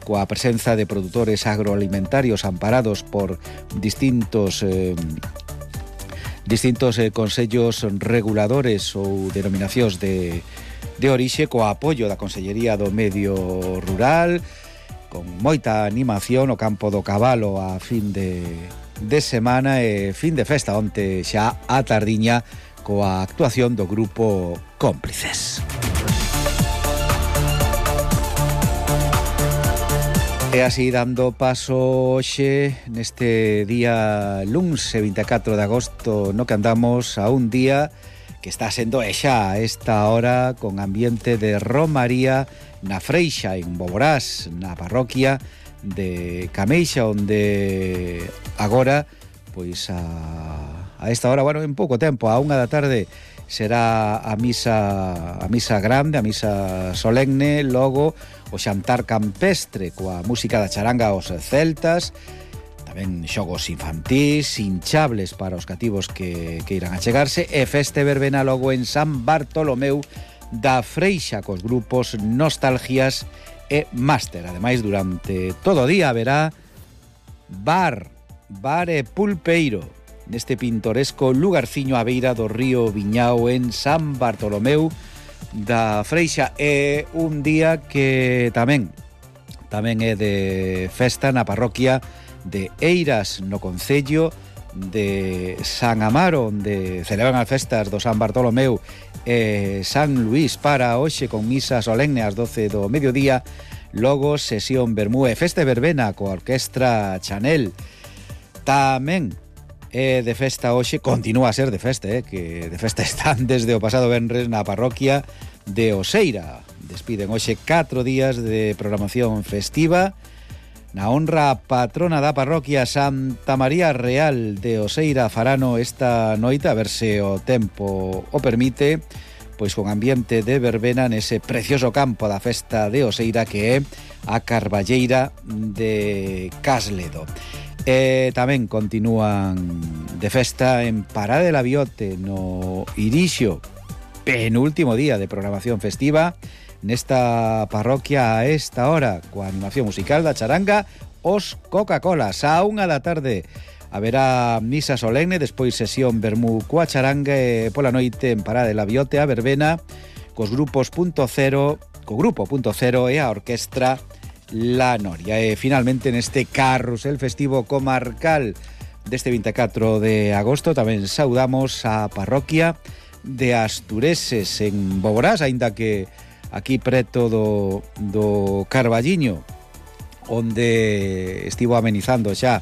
coa presenza de produtores agroalimentarios amparados por distintos consellos reguladores ou denominacións de orixe, coa apoio da Consellería do Medio Rural, con moita animación no campo do Cabalo a fin de semana e fin de festa onte xa a tardiña coa actuación do grupo Cómplices. E así dando paso hoxe neste día luns 24 de agosto no que andamos a un día que está sendo xa a esta hora con ambiente de romaría na Freixa en Boborás, na parroquia de Cameixa, onde agora pois a esta hora, bueno, en pouco tempo, a 1 da tarde será a misa grande, a misa solemne, logo o xantar campestre coa música da charanga aos celtas, tamén xogos infantís, hinchables para os cativos que irán a chegarse, e feste verbena logo en San Bartolomeu da Freixa cos grupos Nostalgias e Máster. Ademais, durante todo o día haberá bar e pulpeiro neste pintoresco lugarciño á beira do río Viñao en San Bartolomeu da Freixa. É un día que tamén é de festa na parroquia de Eiras, no concello de San Amaro, onde celebran as festas do San Bartolomeu e San Luís para hoxe con misa solemne ás 12 do mediodía, logo sesión vermú e festa verbena coa orquestra Chanel. Tamén é de festa hoxe, continúa a ser de festa, que de festa están desde o pasado venres na parroquia de Oseira. Despiden hoxe 4 días de programación festiva na honra a patrona da parroquia Santa María Real de Oseira Farano esta noite, a ver se o tempo o permite, pois con ambiente de verbena nese precioso campo da festa de Oseira que é a Carballeira de Casledo. E tamén continúan de festa en Parada de la Biote no Irixo, penúltimo día de programación festiva nesta parroquia a esta hora, coa animación musical da charanga Os Coca-Colas. A 1 da tarde haberá misa solemne, despois sesión vermú coa charanga e pola noite en Parada de la Biote a verbena cos grupos Punto Cero e a orquestra La Noria. E finalmente neste carrusel festivo comarcal deste 24 de agosto tamén saudamos a parroquia de Astureses en Boborás, aínda que aquí preto do Carballiño, onde estivo amenizando xa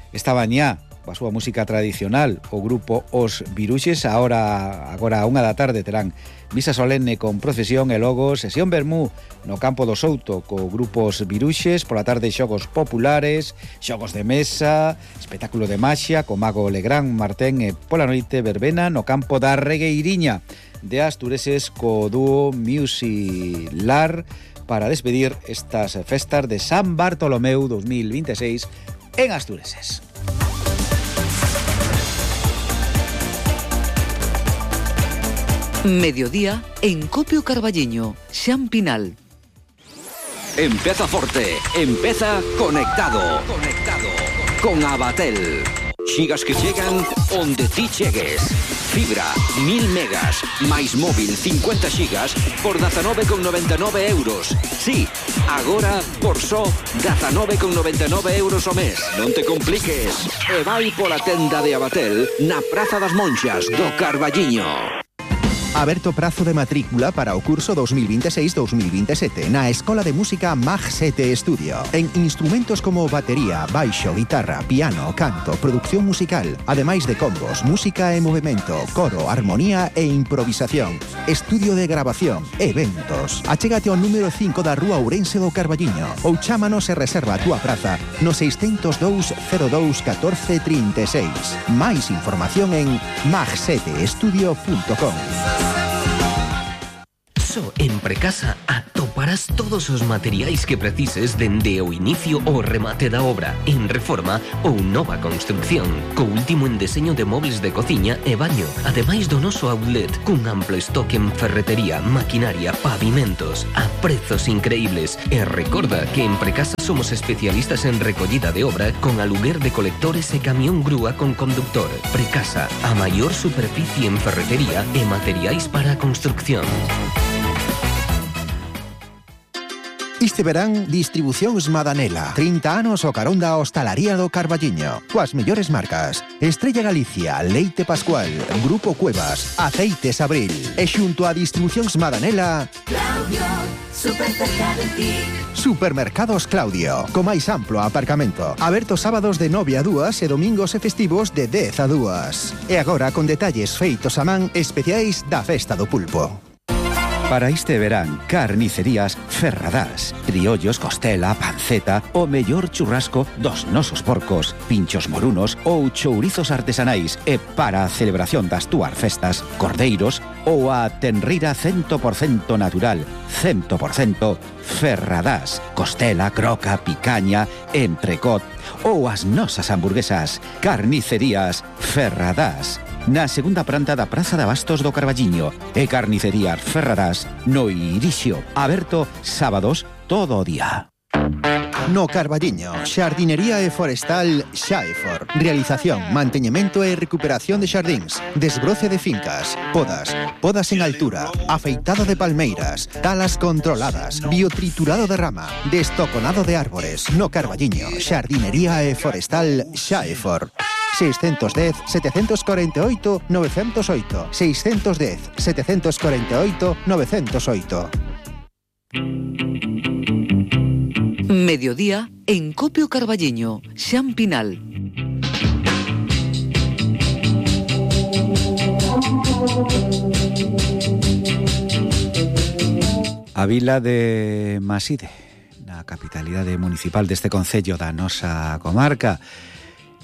esta mañá a súa música tradicional o grupo Os Viruxes. Agora a 1 da tarde terán misa solemne con procesión e logo sesión vermú no campo do Souto co grupo Os Viruxes. Pola tarde xogos populares, xogos de mesa, espectáculo de maxia co mago Legrán Martén e pola noite verbena no campo da Regueiriña de Astureses co dúo Musilar para despedir estas festas de San Bartolomeu 2026 en Astureses. Mediodía en Copio Carballiño, Xan Pinal. Empeza forte, empeza conectado. Con Abatel. Xigas que chegan onde ti chegues. Fibra, 1000 megas, máis móvil 50 xigas por 19,99 euros. Sí, agora por só 19,99 euros o mes. Non te compliques. E vai pola tenda de Abatel na Praza das Monxas do Carballiño. Aberto prazo de matrícula para o curso 2026-2027 na Escola de Música Mag 7 Estudio. En instrumentos como batería, baixo, guitarra, piano, canto, producción musical, ademais de combos, música e movimento, coro, armonía e improvisación, estudio de grabación, eventos. Achégate ao número 5 da Rúa Ourense do Carballiño ou chámanos e reserva a túa praza no 602 02 14 36. Máis información en mag7estudio.com. iso, en Precasa atoparás todos os materiais que precises dende o inicio ao remate da obra, en reforma ou nova construcción, co último en deseño de mobles de cociña e baño, ademais do noso outlet, cun amplo estoque en ferretería, maquinaria, pavimentos, a prezos increíbles. E recorda que en Precasa somos especialistas en recollida de obra con aluguer de colectores e camión grúa con conductor. Precasa, a maior superficie en ferretería e materiais para a construcción. Este verán, Distribucións Madanela. 30 anos o carón da hostalaría do Carballiño. Coas mellores marcas: Estrella Galicia, Leite Pascual, Grupo Cuevas, Aceites Abril. E xunto a Distribucións Madanela, Claudio, super cerca de ti. Supermercados Claudio, co máis amplo aparcamento. Aberto sábados de 9 a 2 e domingos e festivos de 10 a 2. E agora con detalles feitos a man especiais da Festa do Pulpo. Para este verán, carnicerías Ferradás. Criollos, costela, panceta, o mellor churrasco dos nosos porcos, pinchos morunos ou chourizos artesanais. E para a celebración das túas festas, cordeiros ou a tenrira 100% natural, 100% Ferradás. Costela, croca, picaña, entrecot ou as nosas hamburguesas. Carnicerías Ferradás. Na segunda planta da Praza de Abastos do Carballiño e Carnicerías Ferradás no Irixio, aberto sábados todo o día. No Carballiño, xardinería e forestal Xaefor. Realización, manteñemento e recuperación de xardíns, desbroce de fincas, podas en altura, afeitado de palmeiras, talas controladas, biotriturado de rama, destoconado de árbores. No Carballiño, xardinería e forestal Xaefor. 610 748 908 610 748 908. Mediodía en Copio Carballiño, Xan Pinal. A vila de Maside, na capitalidade municipal deste concello da nosa comarca,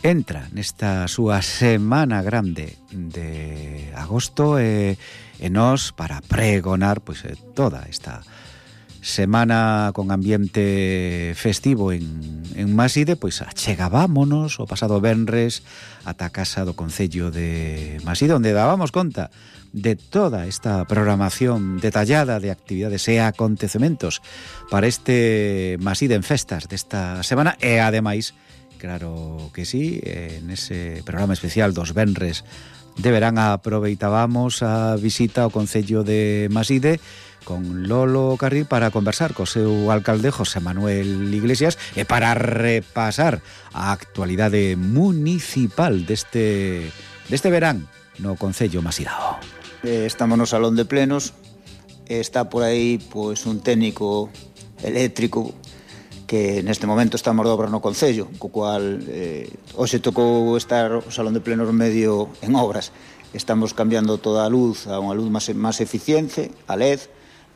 entra nesta súa semana grande de agosto e nós, para pregonar pois toda esta semana con ambiente festivo en Maside, pois achegámonos o pasado venres ata a casa do concello de Maside, onde dábamos conta de toda esta programación detallada de actividades e acontecementos para este Maside en festas desta semana. E ademais, claro que sí, nese programa especial dos venres de verán aproveitábamos a visita ao concello de Maside con Lolo Carril para conversar co seu alcalde José Manuel Iglesias e para repasar a actualidade municipal deste verán no concello masidao. Estamos no salón de plenos, está por aí pois un técnico eléctrico que neste momento estamos de obra no concello, co cual hoxe tocou estar o salón de plenos medio en obras. Estamos cambiando toda a luz a unha luz máis eficiente, a LED,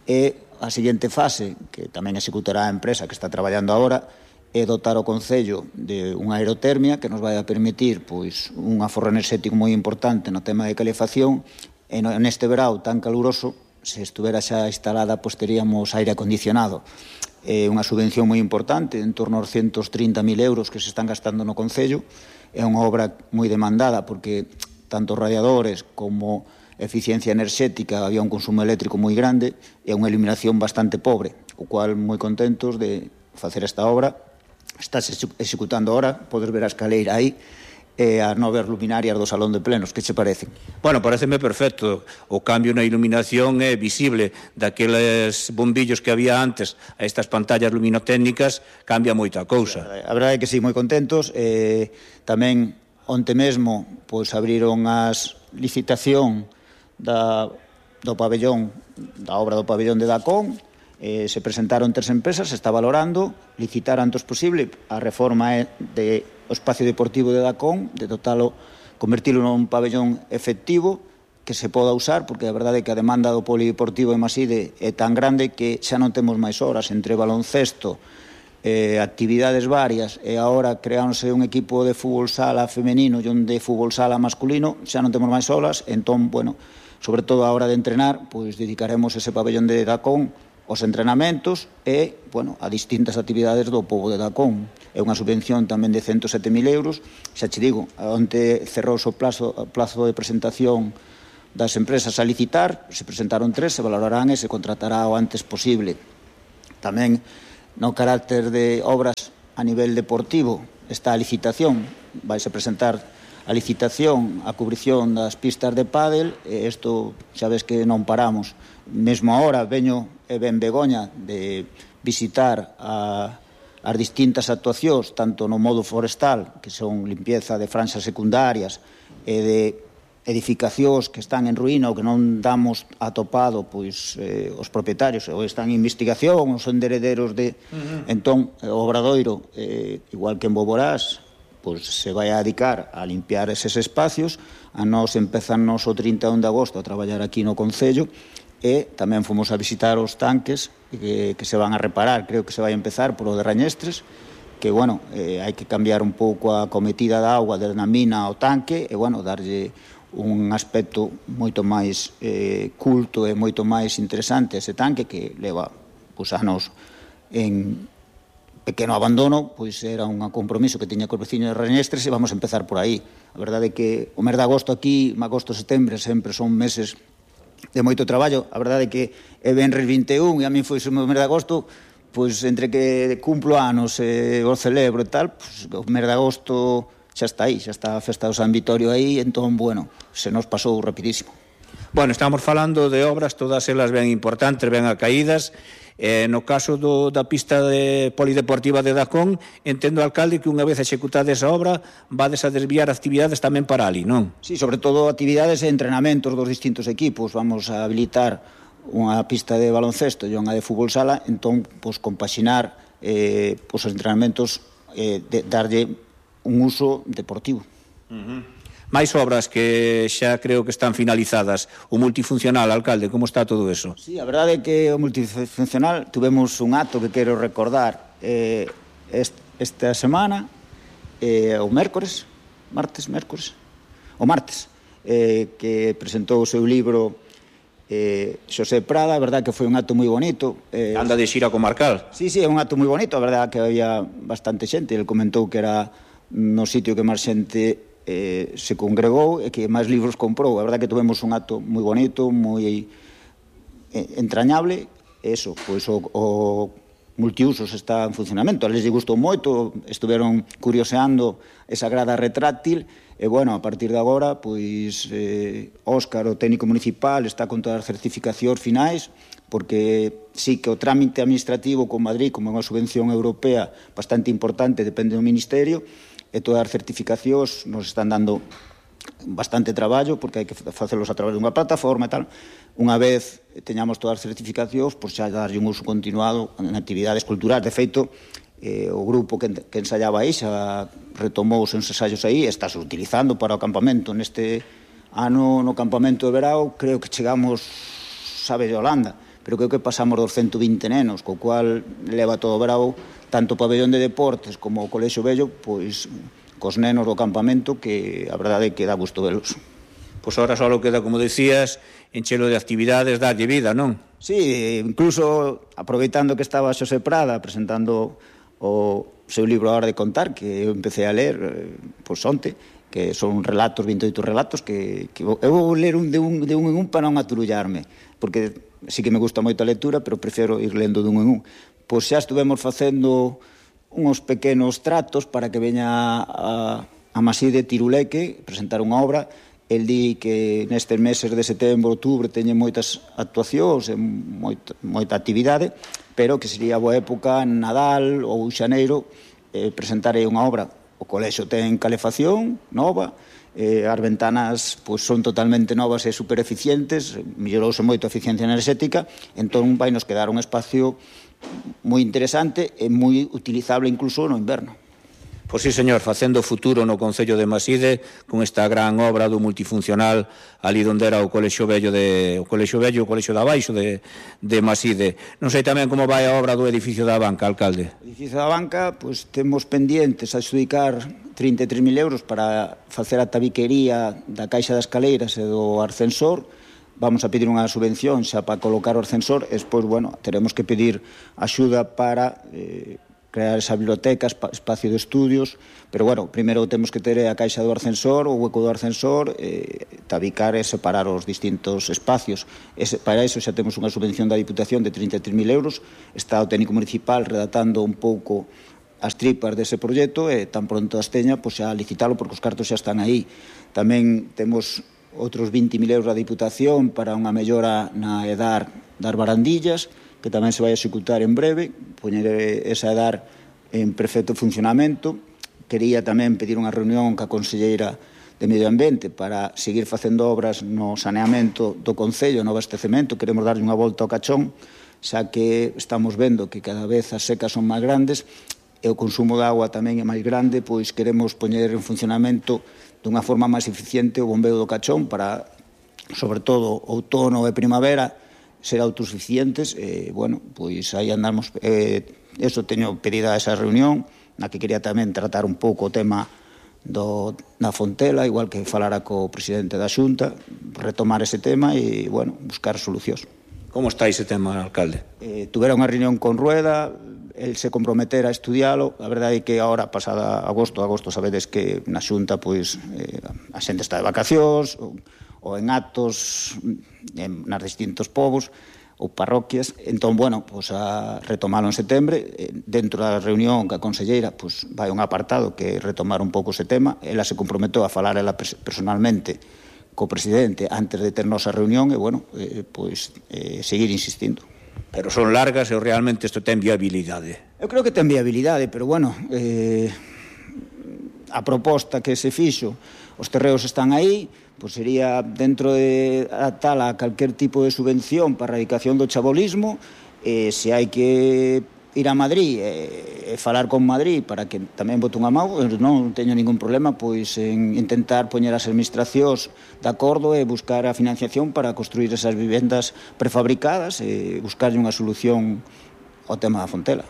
e a seguinte fase, que tamén executará a empresa que está traballando agora, é dotar o concello de unha aerotermia que nos vai a permitir pois un aforro enerxético moi importante no tema de calefacción. E neste verao tan caluroso, se estuvera xa instalada, pois teríamos aire acondicionado. É unha subvención moi importante, en torno aos 130.000 euros que se están gastando no concello. É unha obra moi demandada porque tanto radiadores como eficiencia enerxética, había un consumo eléctrico moi grande e unha iluminación bastante pobre, o cual moi contentos de facer esta obra. Estás executando ahora, podes ver a escaleira aí, e as novas luminarias do salón de plenos, que che parecen? Bueno, pareceme perfecto. O cambio na iluminación é visible. Daqueles bombillos que había antes a estas pantallas luminotécnicas cambia moita cousa. A verdade é que sí, moi contentos. Tamén onte mesmo pois abriron as licitación do pabellón, da obra do pabellón de Dacón. Se presentaron 3 empresas, se está valorando licitar antes posible. A reforma é de o espacio deportivo de Dacón, de dotalo, convertilo nun pabellón efectivo que se poda usar, porque a verdade é que a demanda do polideportivo en Maside é tan grande que xa non temos máis horas entre baloncesto, actividades varias, e agora creáronse un equipo de fútbol sala femenino e un de fútbol sala masculino, xa non temos máis horas. Entón, bueno, sobre todo a hora de entrenar, pois dedicaremos ese pabellón de Dacón aos entrenamentos e, bueno, a distintas actividades do pobo de Dacón. É unha subvención tamén de 107.000 euros. Xa che digo, onte cerrouse o plazo de presentación das empresas a licitar, se presentaron 3, se valorarán e se contratará o antes posible. Tamén, no carácter de obras a nivel deportivo, está a licitación, vaise presentar a licitación, a cubrición das pistas de pádel, e isto xa ves que non paramos. Mesmo ahora veño e ben Begoña de visitar as distintas actuacións, tanto no modo forestal, que son limpieza de franxas secundarias, e de edificacións que están en ruína ou que non damos atopado pois os propietarios, ou están en investigación, ou son herederos de... Entón, o Obradoiro, igual que en Boborás, pois se vai a dedicar a limpiar eses espacios. A nós empezamos o 31 de agosto a traballar aquí no Concello, e tamén fomos a visitar os tanques que se van a reparar. Creo que se vai a empezar por o de Rañestres, que, bueno, hai que cambiar un pouco a cometida da auga desde a mina ao tanque e, bueno, darlle un aspecto moito máis culto e moito máis interesante a ese tanque que leva pois anos en pequeno abandono. Pois era un compromiso que tiña cos veciños de Rañestres e vamos a empezar por aí. A verdade é que o mes de agosto aquí, agosto, setembro, sempre son meses de moito traballo. A verdade é que é Venres 21 e a min foi o mes de agosto, pois entre que cumplo anos e o celebro e tal, pois o mes de agosto xa está aí, xa está a festa do San Vitorio aí, entón, bueno, se nos pasou rapidísimo. Bueno, estamos falando de obras, todas elas ben importantes, ben acaídas. No caso da pista polideportiva de Dacón, entendo, alcalde, que unha vez executada esa obra vades a desviar actividades tamén para ali, non? Sí, sobre todo actividades e entrenamentos dos distintos equipos. Vamos a habilitar unha pista de baloncesto e unha de fútbol sala, entón, pois, compaxinar os entrenamentos, darlle un uso deportivo. máis obras que xa creo que están finalizadas. O multifuncional, alcalde, como está todo eso? Sí, a verdade é que o multifuncional tuvemos un acto que quero recordar esta semana, o martes, que presentou o seu libro Xosé Prada. A verdade que foi un acto moi bonito. Anda de xira comarcal. Sí, é un acto moi bonito. A verdade que había bastante xente. Ele comentou que era no sitio que máis xente se congregou e que máis libros comprou. A verdade que tuvemos un acto moi bonito, moi entrañable. Eso, pois o multiusos está en funcionamento. A les gustou moito, estuveron curioseando esa grada retráctil e, bueno, a partir de agora, pois Óscar, o técnico municipal, está con todas as certificacións finais, porque sí que o trámite administrativo con Madrid, como unha subvención europea bastante importante, depende do Ministerio, e todas as certificacións nos están dando bastante traballo, porque hai que facelos a través dunha plataforma e tal. Unha vez teñamos todas as certificacións, pois xa darlle un uso continuado en actividades culturais. De feito, o grupo que ensaiaba aí xa retomou os ensaios aí e estáse utilizando para o campamento. Neste ano, no campamento de verao, creo que chegamos, sabe, de Holanda, pero creo que pasamos dos 120 nenos, co cual leva todo o verao, tanto o pabellón de deportes como o Colexio Vello, pois cos nenos do campamento, que a verdade é que dá gusto velos. Pois ahora só queda, como decías, enchelo de actividades, darlle vida, non? Sí, incluso aproveitando que estaba Xosé Prada presentando o seu libro A hora de contar, que eu empecé a ler pois onte, que son relatos, 28 relatos, que eu vou ler de un en un para non aturullarme, porque sí que me gusta moito a lectura, pero prefiro ir lendo de un en un. Pois xa estuvemos facendo uns pequenos tratos para que veña a Masí de Tiruleque presentar unha obra. El di que nestes meses de setembro, outubro, teñen moitas actuacións e moita actividade, pero que sería boa época en Nadal ou Xaneiro presentarei unha obra. O colexo ten calefacción nova, as ventanas pois son totalmente novas e super eficientes, mellorouse moito a eficiencia enerxética, entón vai nos quedar un espacio moi interesante e moi utilizable incluso no inverno. Pois sí, señor, facendo futuro no Concello de Maside con esta gran obra do multifuncional ali onde era o Colexio Vello o Colexio da Baixo de Maside. Non sei tamén como vai a obra do edificio da banca, alcalde. O edificio da banca, pois temos pendientes a adxudicar 33.000 euros para facer a tabiquería da caixa das escaleiras e do ascensor. vamos a pedir unha subvención xa para colocar o ascensor, e despois, bueno, teremos que pedir axuda para crear esa biblioteca, espacio de estudios, pero, bueno, primeiro temos que ter a caixa do ascensor, o hueco do ascensor, tabicar e separar os distintos espacios. Para iso xa temos unha subvención da Diputación de 33.000 euros, está o técnico municipal redactando un pouco as tripas dese proxecto, e tan pronto as teña, pois xa licitalo, porque os cartos xa están aí. Tamén temos outros 20.000 euros da Diputación para unha mellora na edar das barandillas, que tamén se vai executar en breve, poñer esa edar en perfecto funcionamento. Quería tamén pedir unha reunión ca Conselleira de Medio Ambiente para seguir facendo obras no saneamento do Concello, no abastecemento. Queremos darlle unha volta ao cachón, xa que estamos vendo que cada vez as secas son máis grandes e o consumo de agua tamén é máis grande, pois queremos poñer en funcionamento dunha forma máis eficiente o bombeo do cachón para, sobre todo, outono e primavera, ser autosuficientes. Bueno, pois aí andamos. Eso teño pedida esa reunión, na que quería tamén tratar un pouco o tema da Fontela, igual que falara co presidente da Xunta, retomar ese tema e, bueno, buscar solucións. Como está ese tema, alcalde? Tuvera unha reunión con Rueda, el se comprometera a estudialo. A verdade é que agora, pasada agosto, sabedes que na Xunta, pois, a xente está de vacacións, ou en actos nas distintos povos ou parroquias. Entón, bueno, pois a retomalo en setembro. Dentro da reunión ca conselleira, pois vai un apartado que retomar un pouco ese tema. Ela se comprometeu a falar ela personalmente co presidente antes de ter nosa reunión e, bueno, pois seguir insistindo. Pero son largas e realmente isto ten viabilidade? Eu creo que ten viabilidade, pero, bueno, a proposta que se fixo, os terreos están aí, pois sería dentro de tal a calquer tipo de subvención para a erradicación do chabolismo. Se hai que ir a Madrid e falar con Madrid para que tamén bote unha mão, non teño ningún problema pois en intentar poñer as administracións de acordo e buscar a financiación para construir esas vivendas prefabricadas e buscarlle unha solución ao tema da Fontela.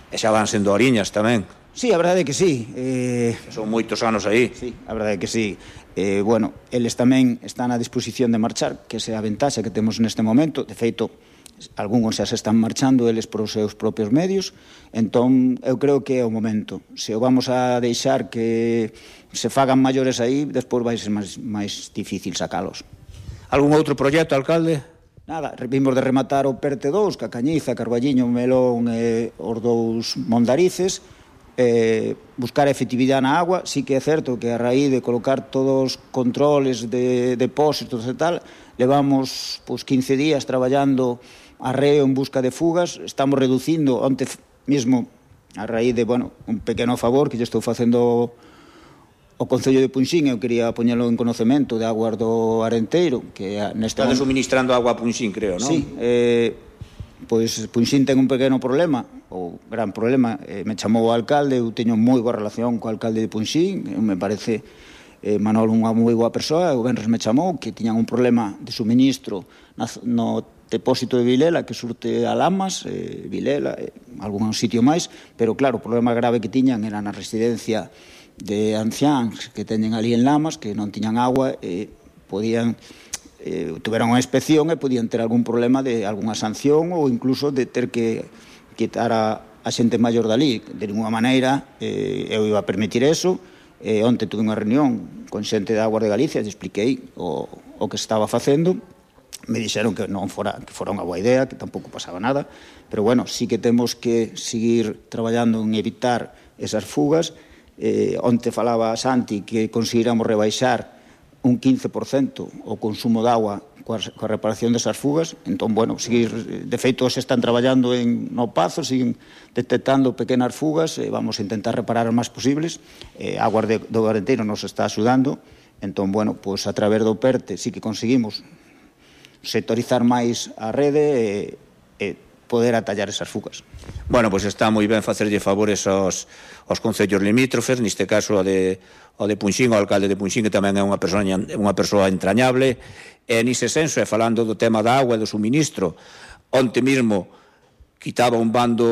E xa van sendo oriñas tamén. Sí, a verdade é que sí. Son moitos anos aí. Sí, a verdade é que sí. Bueno, eles tamén están a disposición de marchar, que esa é a ventaxa que temos neste momento. De feito, algúns xa se están marchando eles por os seus propios medios. Entón, eu creo que é o momento. Se o vamos a deixar que se fagan maiores aí, despois vai ser máis difícil sacalos. Algún outro proxecto, alcalde? Nada, vimos de rematar o PERTE 2, que a Cañiza, Carballiño, Melón e os dous Mondarices. Buscar efectividade na agua. Sí que é certo que a raíz de colocar todos os controles de depósitos e tal, levamos 15 días traballando arreo en busca de fugas. Estamos reducindo onte mesmo a raíz de, bueno, un pequeno favor que lle estou facendo o Concello de Punxín. Eu quería poñelo en conocemento de aguas do Arenteiro, que neste Están suministrando agua a Punxín, creo, non? Sí, pois Punxín ten un pequeno problema, ou gran problema. Me chamou o alcalde, eu teño moi boa relación co alcalde de Punxín, me parece Manolo unha moi boa persoa. O venres me chamou que tiñan un problema de suministro no depósito de Vilela, que surte a Lamas, Vilela, algún sitio máis, pero claro, o problema grave que tiñan era na residencia de anciáns que teñen ali en Lamas, que non tiñan agua e podían tuveron unha inspección e podían ter algún problema de algunha sanción ou incluso de ter que quitar a xente maior dali. De ninguna maneira eu iba a permitir eso. Onte tuve unha reunión con xente de Aguas de Galicia e expliquei o que estaba facendo. Me dixeron que non fora unha boa idea, que tampouco pasaba nada, pero bueno, sí que temos que seguir traballando en evitar esas fugas. Onte falaba Santi que conseguiramos rebaixar un 15% o consumo de agua coa reparación desas fugas. Entón, bueno, seguir, de feito, se están traballando no Pazo, siguen detectando pequenas fugas, vamos a intentar reparar as máis posibles. Aguas do Arenteiro nos está axudando. Entón, bueno, pois a través do PERTE sí que conseguimos sectorizar máis a rede e poder atallar esas fugas. Bueno, pois está moi ben facerlle favores aos concellos limítrofes, neste caso o de Punxín, o alcalde de Punxín, que tamén é unha persoa entrañable. E nise senso, e falando do tema da agua e do suministro, onte mesmo quitaba un bando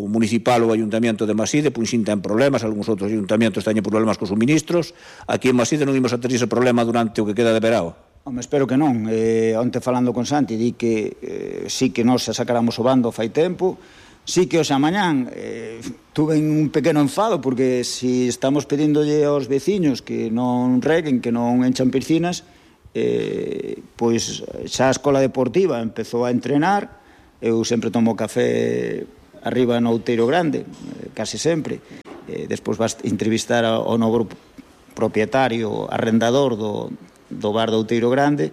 municipal o Ayuntamiento de Maside. Punxín ten problemas, algúns outros ayuntamientos teñen problemas cos suministros. Aquí en Maside non imos a ter ese problema durante o que queda de verao. Home, espero que non. Onte falando con Santi di que sí que nós xa sacáramos o bando fai tempo, sí que hoxe a mañán tuve un pequeno enfado porque si estamos pedíndolle aos veciños que non reguen, que non enchan piscinas, pois xa a escola deportiva empezou a entrenar. Eu sempre tomo café arriba no Outeiro Grande, casi sempre. Despois vas entrevistar ao novo propietario, arrendador do bar do Outeiro Grande,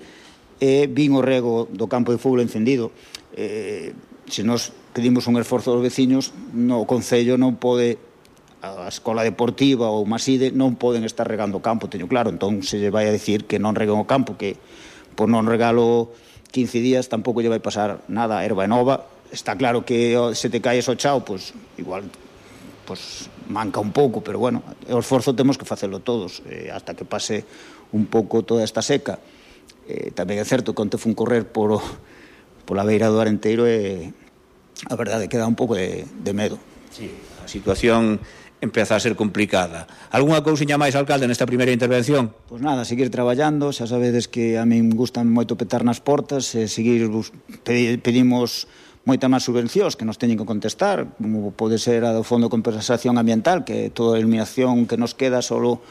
e vin o rego do campo de fútbol encendido. Se nos pedimos un esforzo aos veciños, no Concello non pode, a escola deportiva ou Maside non poden estar regando o campo, teño claro. Entón se lle vai a decir que non reguen o campo, que por non regalo 15 días tampouco lle vai pasar nada. A erva é nova, está claro que se te caes o chao, pois igual pois manca un pouco, pero bueno, o esforzo temos que facelo todos, hasta que pase un pouco toda esta seca. Tamén é certo que onte fun correr pola beira do Arenteiro e a verdade que dá un pouco de medo. Sí, a situación empeza a ser complicada. Algúnha cousiña máis, alcalde, nesta primeira intervención? Pois nada, seguir traballando, xa sabedes que a min gustan moito petar nas portas, pedimos moitas máis subvencións que nos teñen que contestar, como pode ser a do Fondo de Compensación Ambiental, que toda a eliminación que nos queda solo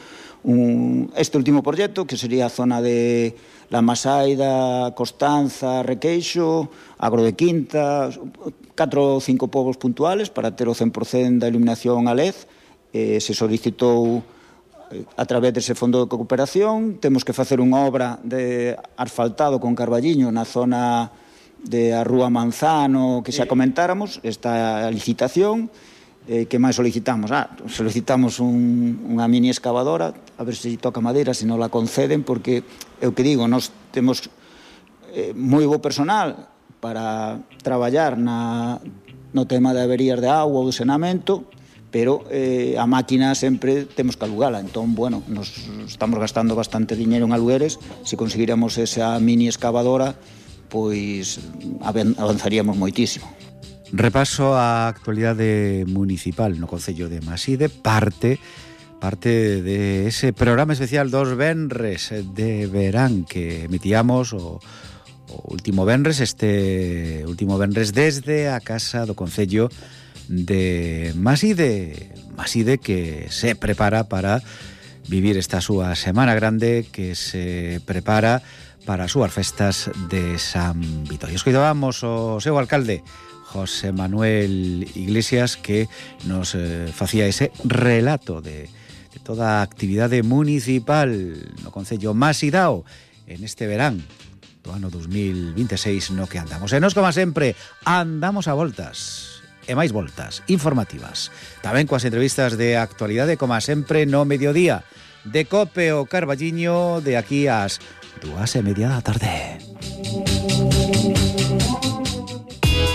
este último proxecto, que sería a zona de La Masaida, Costanza, Requeixo, Agro de Quinta, 4 ou 5 povos puntuales para ter o 100% da iluminación a LED. Se solicitou a través dese fondo de cooperación. Temos que facer unha obra de asfaltado con Carballiño na zona de a Rúa Manzano, que xa comentáramos, esta licitación. Que máis solicitamos? Solicitamos unha mini excavadora, a ver se toca madeira, se non la conceden, porque é o que digo, nós temos moi bo personal para traballar no tema de averías de agua ou de saneamento, pero a máquina sempre temos que alugala. Entón, bueno, nos estamos gastando bastante diñeiro en alugueres. Se conseguiramos esa mini excavadora, pois avanzaríamos moitísimo. Repaso a actualidade municipal no Concello de Maside, parte de ese programa especial dos venres de verán que emitíamos o último venres, este último venres desde a casa do Concello de Maside que se prepara para vivir esta súa Semana Grande, que se prepara para as súas festas de San Vitorio. Escoitábamos o seu alcalde José Manuel Iglesias, que nos facía ese relato de toda a actividade municipal no Concello Masidao en este verán do ano 2026 no que andamos. E nos, como sempre, andamos a voltas e máis voltas informativas. Tamén coas entrevistas de actualidade, como sempre, no mediodía de Cope o Carballiño, de aquí ás 2:30 da tarde.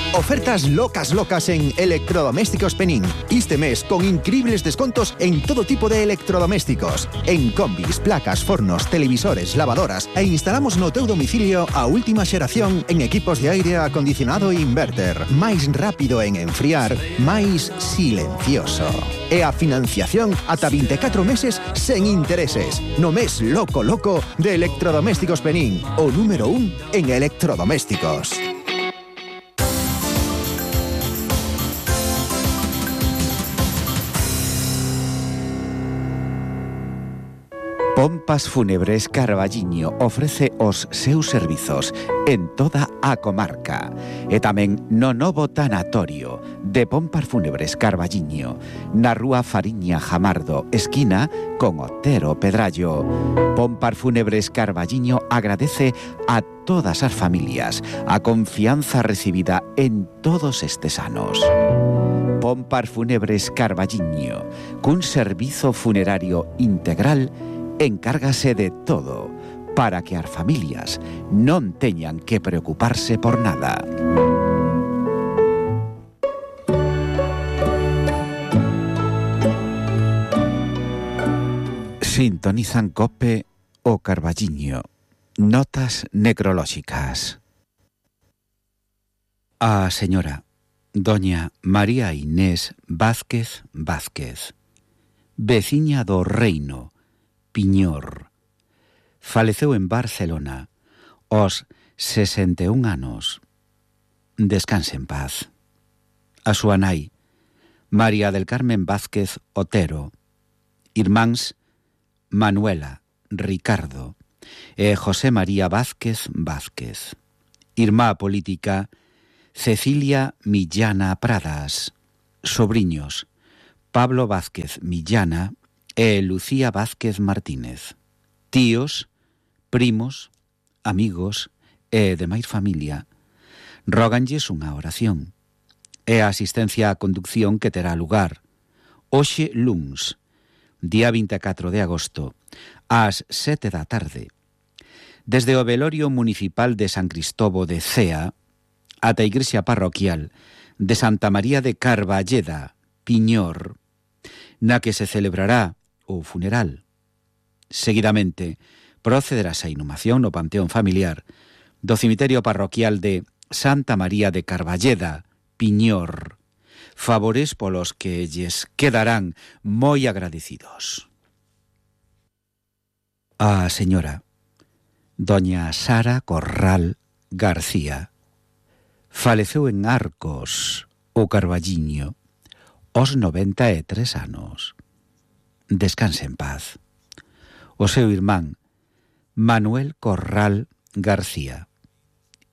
Ofertas locas en Electrodomésticos Penín. Este mes con increíbles descontos en todo tipo de electrodomésticos. En combis, placas, fornos, televisores, lavadoras e instalamos no teu domicilio a última xeración en equipos de aire acondicionado e inverter. Máis rápido en enfriar, máis silencioso. E a financiación ata 24 meses sen intereses. No mes loco de Electrodomésticos Penín, o número 1 en electrodomésticos. Pompas Fúnebres Carballiño ofrece os seus servizos en toda a comarca e tamén no novo tanatorio de Pompas Fúnebres Carballiño na rúa Fariña Jamardo, esquina con Otero Pedrallo. Pompas Fúnebres Carballiño agradece a todas as familias a confianza recibida en todos estes anos. Pompas Fúnebres Carballiño, cun servizo funerario integral, encárgase de todo para que as familias non teñan que preocuparse por nada. Sintonizan Cope o Carballiño. Notas necrolóxicas. A señora doña María Inés Vázquez Vázquez, veciña do Reino, Piñor, faleceu en Barcelona Os 61 anos. Descanse en paz. A súa nai, María del Carmen Vázquez Otero. Irmáns Manuela, Ricardo e José María Vázquez Vázquez. Irmá política Cecilia Millana Pradas. Sobriños Pablo Vázquez Millana e Lucía Vázquez Martínez. Tíos, primos, amigos e demais familia róganlles unha oración. É a asistencia á conducción que terá lugar hoxe luns, día 24 de agosto, ás 7 da tarde, desde o velorio municipal de San Cristobo de Cea ata a igrexa parroquial de Santa María de Carballeda, Piñor, na que se celebrará o funeral. Seguidamente, procederase a inhumación no panteón familiar do cemiterio parroquial de Santa María de Carballeda, Piñor, favores polos que lles quedarán moi agradecidos. A señora doña Sara Corral García faleceu en Arcos, o Carballiño, aos 93 anos. Descanse en paz. O seu irmán Manuel Corral García.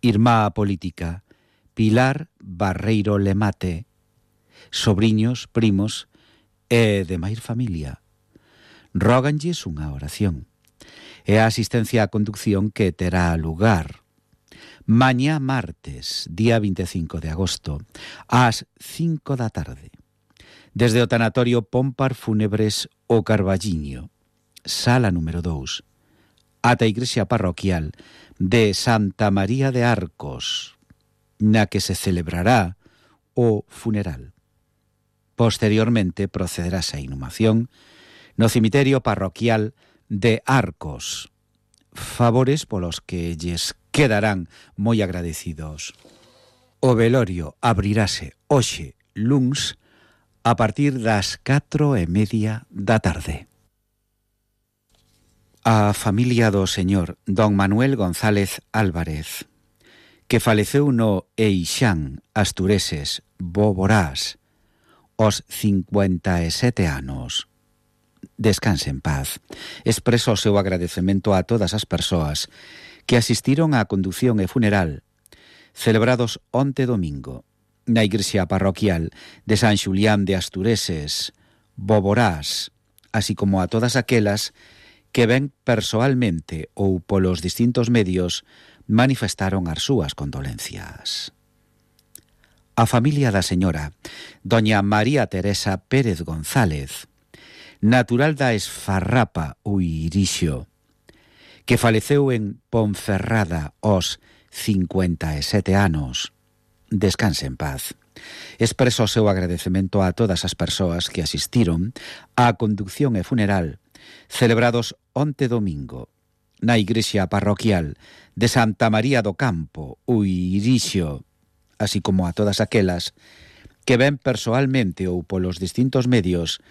Irmá política Pilar Barreiro Lemate. Sobriños, primos e demais familia róganlles unha oración. É a asistencia á conducción que terá lugar mañá martes, día 25 de agosto, ás 5 da tarde, desde o tanatorio Pómpar Fúnebres o Carballiño, sala número 2, ata a igrexa parroquial de Santa María de Arcos, na que se celebrará o funeral. Posteriormente procederase a inhumación no cemiterio parroquial de Arcos, favores polos que lles quedarán moi agradecidos. O velorio abrirase hoxe luns a partir das 4:30 da tarde. A familia do señor don Manuel González Álvarez, que faleceu no Eixán, Astureses, Boborás, aos 57 anos. Descanse en paz. Expreso o seu agradecemento a todas as persoas que asistiron á condución e funeral celebrados onte domingo na igrexa parroquial de San Xulián de Astureses, Boborás, así como a todas aquelas que ben persoalmente ou polos distintos medios manifestaron as súas condolencias. A familia da señora doña María Teresa Pérez González, natural da Esfarrapa, Uirixo, que faleceu en Ponferrada aos 57 anos. Descanse en paz. Expreso o seu agradecemento a todas as persoas que asistiron á conducción e funeral celebrados onte domingo na igrexa parroquial de Santa María do Campo, Uirixo, así como a todas aquelas que ben persoalmente ou polos distintos medios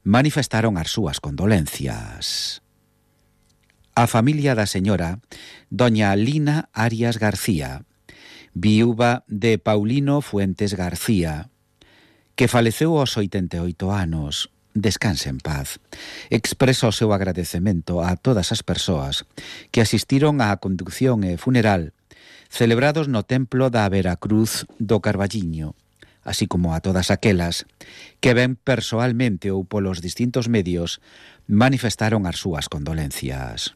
manifestaron as súas condolencias. A familia da señora doña Lina Arias García, viúva de Paulino Fuentes García, que faleceu aos 88 anos. Descanse en paz. Expreso o seu agradecemento a todas as persoas que asistiron á conducción e funeral celebrados no templo da Veracruz do Carballiño, así como a todas aquelas que ben persoalmente ou polos distintos medios manifestaron as súas condolencias.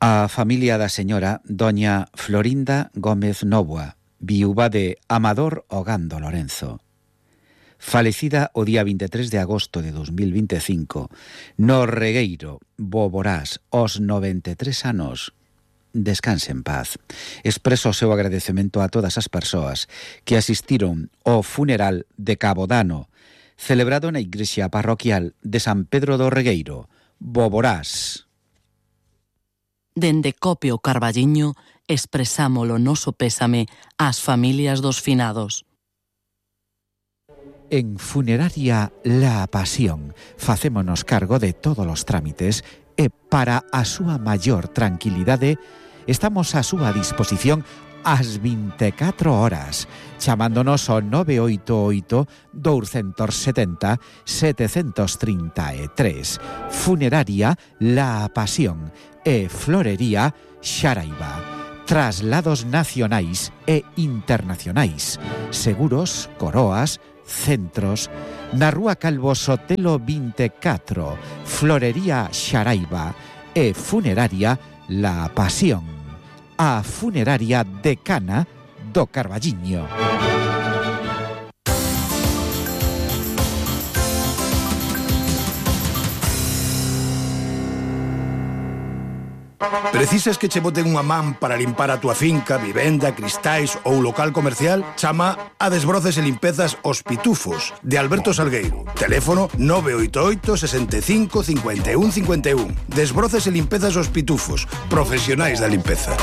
A familia da señora doña Florinda Gómez Novoa, viúva de Amador Ogando Lorenzo, falecida o día 23 de agosto de 2025 no Regueiro, Boborás, aos 93 anos. Descanse en paz. Expreso o seu agradecemento a todas as persoas que asistiron ao funeral de Cabodano, celebrado na igrexa parroquial de San Pedro do Regueiro, Boborás. Dende Copio Carballiño expresamos o noso pésame ás familias dos finados. En Funeraria La Pasión facémonos cargo de todos os trámites e para a súa maior tranquilidade Estamos a súa disposición ás 24 horas, chamándonos ao 988 270 733. Funeraria La Pasión e Florería Xaraiba. Traslados nacionais e internacionais. Seguros, coroas, centros. Na Rúa Calvo Sotelo 24, Florería Xaraiba e Funeraria La Pasión. A funeraria decana do Carballiño. Precisas que che boten unha man para limpar a túa finca, vivenda, cristais ou local comercial? Chama a Desbroces e Limpezas Os Pitufos, de Alberto Salgueiro. Teléfono 988 65 51 51. Desbroces e Limpezas Os Pitufos, profesionais da limpeza.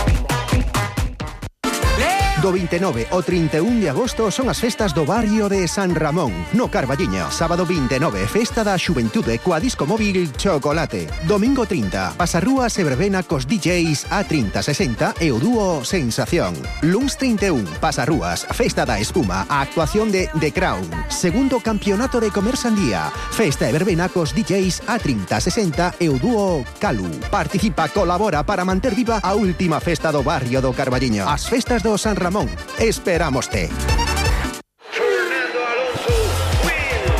Do 29 ao 31 de agosto son as festas do barrio de San Ramón, no Carballiño. Sábado 29, festa da xuventude coa disco móvil Chocolate. Domingo 30, pasarrúas e verbena cos DJs A3060 e o dúo Sensación. Luns 31, pasarrúas, festa da espuma, a actuación de The Crown. Segundo campeonato de comer sandía, festa e verbena cos DJs A3060 e o dúo Calu. Participa, colabora para manter viva a última festa do barrio do Carballiño. As festas do San Ramón. Esperámoste.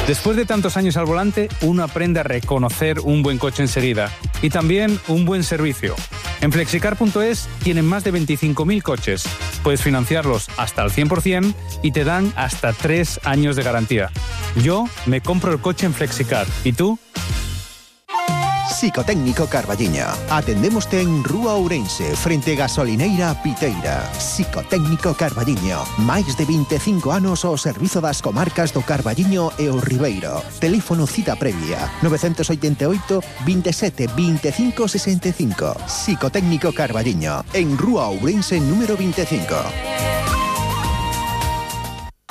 Después de tantos años al volante, uno aprende a reconocer un buen coche enseguida y también un buen servicio. En Flexicar.es tienen más de 25.000 coches. Puedes financiarlos hasta el 100% y te dan hasta 3 años de garantía. Yo me compro el coche en Flexicar. ¿Y tú? Psicotécnico Carballiño. Atendémoste en Rúa Ourense, frente Gasolineira Piteira. Psicotécnico Carballiño. Máis de 25 anos ao servizo das comarcas do Carballiño e o Ribeiro. Teléfono cita previa 988 27 25 65. Psicotécnico Carballiño, en Rúa Ourense número 25.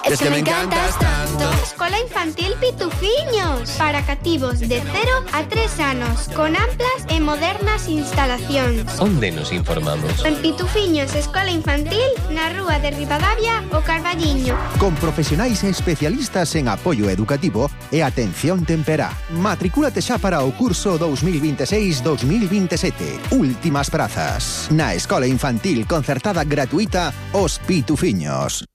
Es que me encantas tanto. Escola Infantil Pitufiños, para cativos de 0 a 3 anos, con amplas e modernas instalacións. Onde nos informamos? En Pitufiños Escola Infantil, na Rúa de Ribadavia, o Carballiño. Con profesionais e especialistas en apoio educativo e atención temperá. Matricúlate xa para o curso 2026-2027. Últimas prazas. Na Escola Infantil concertada gratuita Os Pitufiños.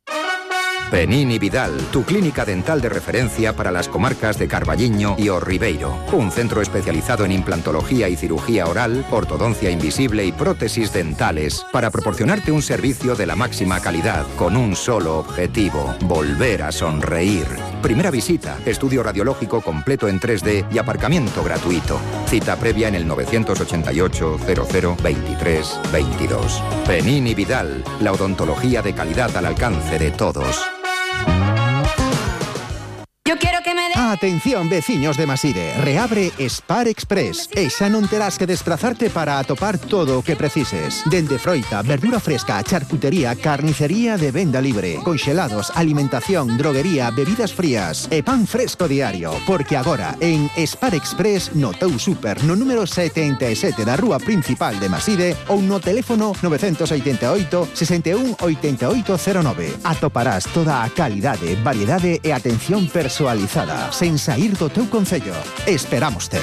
Penini Vidal, tu clínica dental de referencia para las comarcas de Carballiño y O Ribeiro. Un centro especializado en implantología y cirugía oral, ortodoncia invisible y prótesis dentales para proporcionarte un servicio de la máxima calidad con un solo objetivo: volver a sonreír. Primera visita, estudio radiológico completo en 3D y aparcamiento gratuito. Cita previa en el 988 00 23 22. Penini Vidal, la odontología de calidad al alcance de todos. Yo quiero que me dé... Atención, veciños de Maside. Reabre Spar Express e xa non terás que desplazarte para atopar todo o que precises. Dende froita, verdura fresca, charcutería, carnicería de venda libre, conxelados, alimentación, droguería, bebidas frías e pan fresco diario. Porque agora, en Spar Express, no teu super, no número 77 da rúa principal de Maside ou no teléfono 988 61 8809. Atoparás toda a calidade, variedade e atención personalizada, sen sair do teu concello. Esperámoste.